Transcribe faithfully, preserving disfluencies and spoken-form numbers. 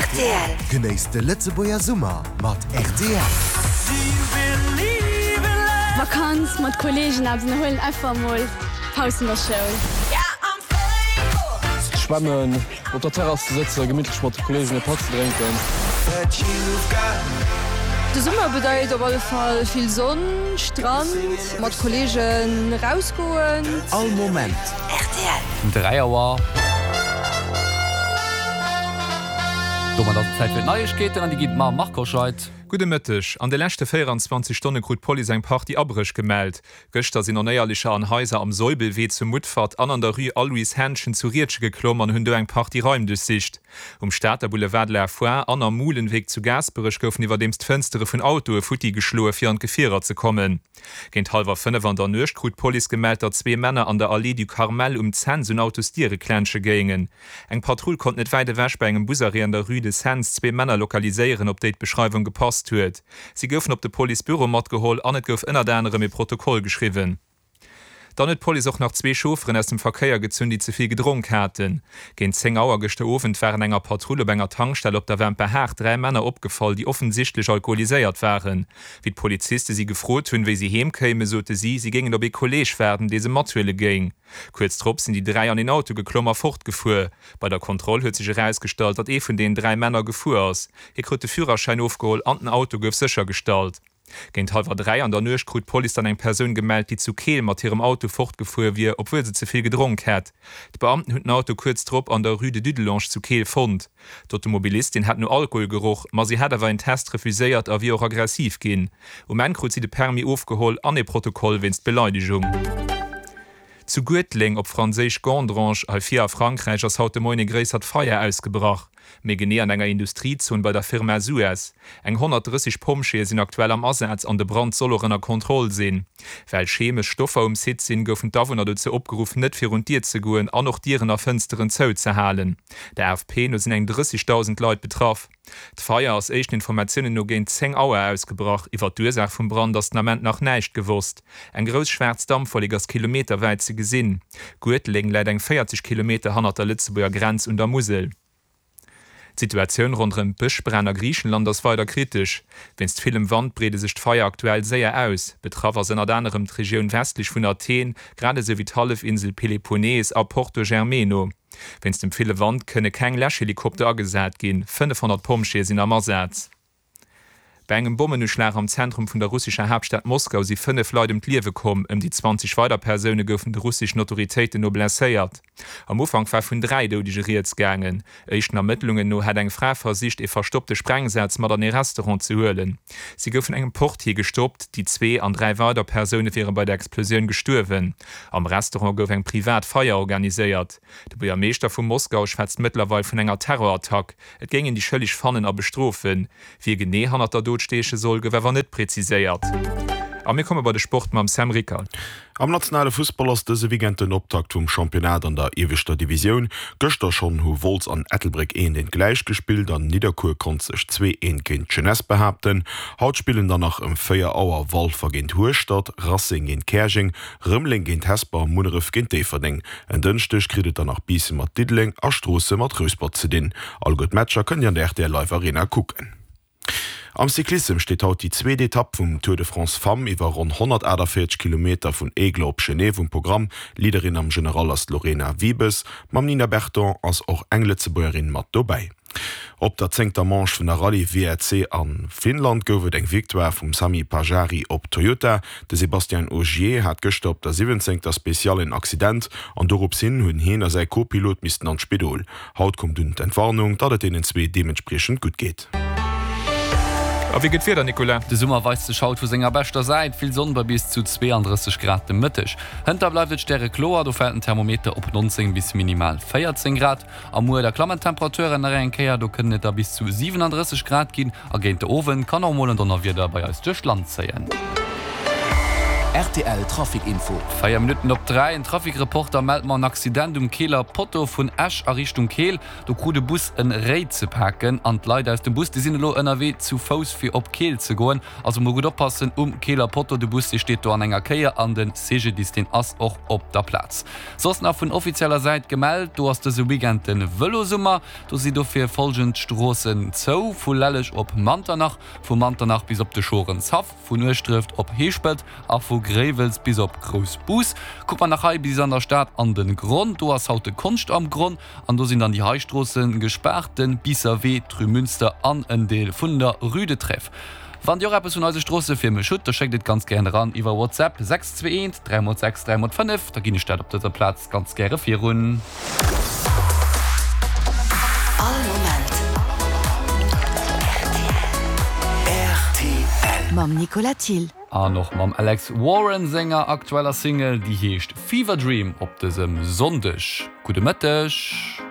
Rtl. Genéisst de Lëtzebuerger Summer mat rtl. Vakanz mat Kolleegen eppes ënnerhuelen, einfach mol Paus vun der Schoul. Schwammen, op der Terrass ze sëtzen, gemittlech mat de Kolleegen e Patt ze drénken. De Summer bedeit op alle Fall vill Sonn, Strand, mat Kolleegen rausgoen. All Moment. Rtl. Dräi Auer. Domat ass et Zäit fir d'Neiegkeeten an déi ginn d'Mar Marc Hoscheid. Gudde Mëtteg. An de leschte véieranzwanzeg Stonne krut d'Police eng Partie Abréch gemellt. Gëschter sinn Onéierlecher an Haiser am Soibelwee zu Mutfert an an der Rue Aloyse Hänschen zu Riedgen geklomm an hunn do eng Partie Raim duerchsicht. Um Stater Boulevard de la Foire an am Muhlenweg zu Gaasperech goufen iwwerdeems d'Fënstere vun Autoe futti geschloe fir an d'Gefierer ze kommen. Géint hallwer fënnef an der Nuecht krut d'Police gemellt, datt zwee Männer an der Allée du Carmel um Cents un Autosdiere klensche géingen. Eng Patrull konnt net wäit ewech bei engem Busarrêt an der Rue de Cents zwee Männer lokaliséieren, op déi d'Beschreiwung gepasst huet. Si goufen op de Policebüro matgeholl an et gouf ënnert anerem e Protokoll geschriwwen. Dann huet d'Police och nach zwee Chaufferen aus dem Verkéier gezunn, déi ze vill gedronk haten. Géint zéng Auer gëschter Owend waren enger Patrull op enger Tankstell op der Wämperhaart dräi Männer opgefall, déi offensichtlech alkoholiséiert waren. Wéi d'Poliziste si gefrot hunn, wéi si heem kéimen, sote si, si géingen op ee Kolleeg waarden, dee se mathuele géing. Kuerz drop sinn déi dräi an een Auto geklomm a fortgefuer. Bei der Kontroll huet sech erausgestallt, datt ee vun deenen dräi Männer gefuer ass. Hie krut de Führerschäin ofgeholl an den Auto gouf séchergestallt. Géint hallwer dräi an der Nuecht krut d'Police dann eng Persoun gemellt, déi zu Keel mat hirem Auto fortgefuer wier, obwuel se ze vill gedronk hätt. D'Beamten hunn den Auto kuerz drop an der Rue de Dudelange zu Keel fonnt. D'Automobilistin hätt no Alkohol geroch, ma si hätt awer een Test refuséiert a wier och aggressiv ginn. Um Enn krut si de Permis ofgeholl an ee Protokoll wéinst Beleidegung. Zu Guetleng, op Franséisch Gandrange, hei vir a Frankräich, ass haut de Moien e gréissert Feier ausgebrach. Méi genee an enger Industriezon bei der Firma Suez. Eng honnertdrësseg Pompjeeë sinn aktuell am Asaz an de Brand soll och ënner Kontroll sinn. Well chemesch Stoffer um Site sinn, goufen d'Awunner dozou opgeruff, net virun d'Dier ze goen an och Dieren a Fënsteren zouzehalen. Der A F P no sinn eng drëssegdausend Leit betraff. D'Feier ass éischten Informatiounen no géint zéng Auer ausgebrach. Iwwer d'Ursaach vum Brand ass den Ament nach näischt gewosst. Eng grouss schwaarz Dampwollek ass kilometerwäit ze gesinn. Guetleng läit eng véierzeg Kilometer hannert der Lëtzebuerger Grenz un der Musel. D'Situatioun ronderëm d'Bëschbränn a Griichenland ass weider kritesch. Wéinst villem Wand breede sech d'Feier aktuell séier aus. Betraff ass ënnert anerem d'Regioun westlech vun Athen, grad esou wéi d'Hallefinsel Peloponnes a Porto Germeno. Wéinst dem ville Wand kënne keng Läschhelikopter agesat ginn. fënnefhonnert Pompjeeë sinn am Asaz. Bei engem Bommenuschlag am Zentrum vun der russescher Haaptstad Moskau si fënnef Leit ëm d'Liewe komm, ëm déi zwanzeg weider Persoune goufen de russeschen Autoritéiten no blesséiert. Am Ufank war vun dräi Doudege rieds gaangen. Éischten Ermëttlungen no hätt eng Fra versicht, ee verstoppte Sprengsaz mat an ee Restaurant ze huelen. Si gouf vun engem Portier gestoppt. Déi zwee an dräi weider Persoune wiere bei der Explosioun gestuerwen. Am Restaurant gouf eng privat Feier organiséiert. De Buergermeeschter vu Moskau schwätzt mëttlerweil vun enger Terrorattack. Et géing een déi Schëlleg fannen a bestrofen. Wie genee hannert der Dot stieche soll, gouf awer net präziséiert. A mir komme bei de Sport mam Sam Rickard. Am nationale Fussball ass dëse Weekend den Optakt vum Championnat an der ieweschter Divisioun. Gëschter schonn hu Wolz an Ettelbréck eent eent gläich gespillt an Nidderkuer konnt sech zwee eent géint d'Jeunesse behaapten. Haut spillen dann nach ëm véier Auer Walfer géint Hueschtert, Racing géint Käerjeng, Rëmeleng géint Hesper a Munneref géint Déifferdeng. En Dënschdeg kritt et dann nach Biissen mat Diddeleng a Stroossen mat Rouspert ze dinn. Alleguer d'Matcher kënnt Dir an der R T L Live Arena kucken. Am Cyclissem steet haut déi zweet Etapp vum Tour de France Femmes iwwer ronn honnertaachtavéierzeg Kilometer vun Aigle op Genève um Programm. Leaderin am General ass d'Lorena Wiebes. Mam Nina Berton ass och eng Lëtzebuergerin mat dobäi. Op der zéngter Manche vun der Rallye W R C a Finnland gouf et eng Victoire vum Sami Pajari op Toyota. De Sébastien Ogier hat gëschter op der siwwenzéngter Speciale en Accident an dorops hin hunn hien a säi Co-Pilot missten an d'Spidol. Haut koum dunn d'Entwarnung, datt et deenen zwee deementspriechend gutt geet. A wéi gëtt d'Wieder, Nicolas? De Summer weist sech haut vu senger beschter Säit, vill Sonn bei bis zu zweeandrësseg Grad de Mëtteg. Hënter bleift et stärekloer, do fält den Thermometer op neunzéng bis minimal véierzéng Grad. A muer da klammen d'Temperaturen nach eng Kéier, do kënnen et da bis zu siwenandrësseg Grad ginn a géint de Owend kann och mol en Donnerwieder bei eis duerch d'Land zéien. Rtl Trafic Info. Véier Minutten op dräi, En Trafic-Reporter mellt mer en Accident um Keeler Potto vun Esch a Richtung Keel. Do krut e Bus en Réi ze paken an d'Leit aus dem Bus, déi sinn elo ënnerwee zu Fouss fir op Keel ze goen. Also mol gutt oppassen um Keeler Potto, de Bus dee steet do an enger Kéier an de CGDIS deen ass och op der Plaz. Soss nach vun offizieller Säit gemellt, do ass dëse Weekend de Vëlosummer. Do si dofir folgend Stroossen zou, vu Lelleg op Manternach, vu Manternach bis op de Schorenshaff, vun Ueschdreft op Heeschpelt a vu Gréiwels bis op Groussbus. Kucke mer nach hei bis an der Stad an den Gronn, do ass haut de Konscht am Gronn an do sinn dann déi hei Stroosse gespaart, den Biisser Wee, d'Rue Münster an en Deel vun der Rue de Trèves. Wann Dir och eppes vun eise Stroosse fir mech hutt, da schéckt et ganz gären eran iwwer WhatsApp, sechs zwee eent, dräi mol sechs, dräi mol fënnef, da ginn ech dat op dëser Plaz ganz gäre virun. All Moment rtl. Mam Nicolas Thill. An och mam Alex Warren senger aktueller Single, déi heescht Fever Dream op dësem Sonndeg. Gudde Mëtteg.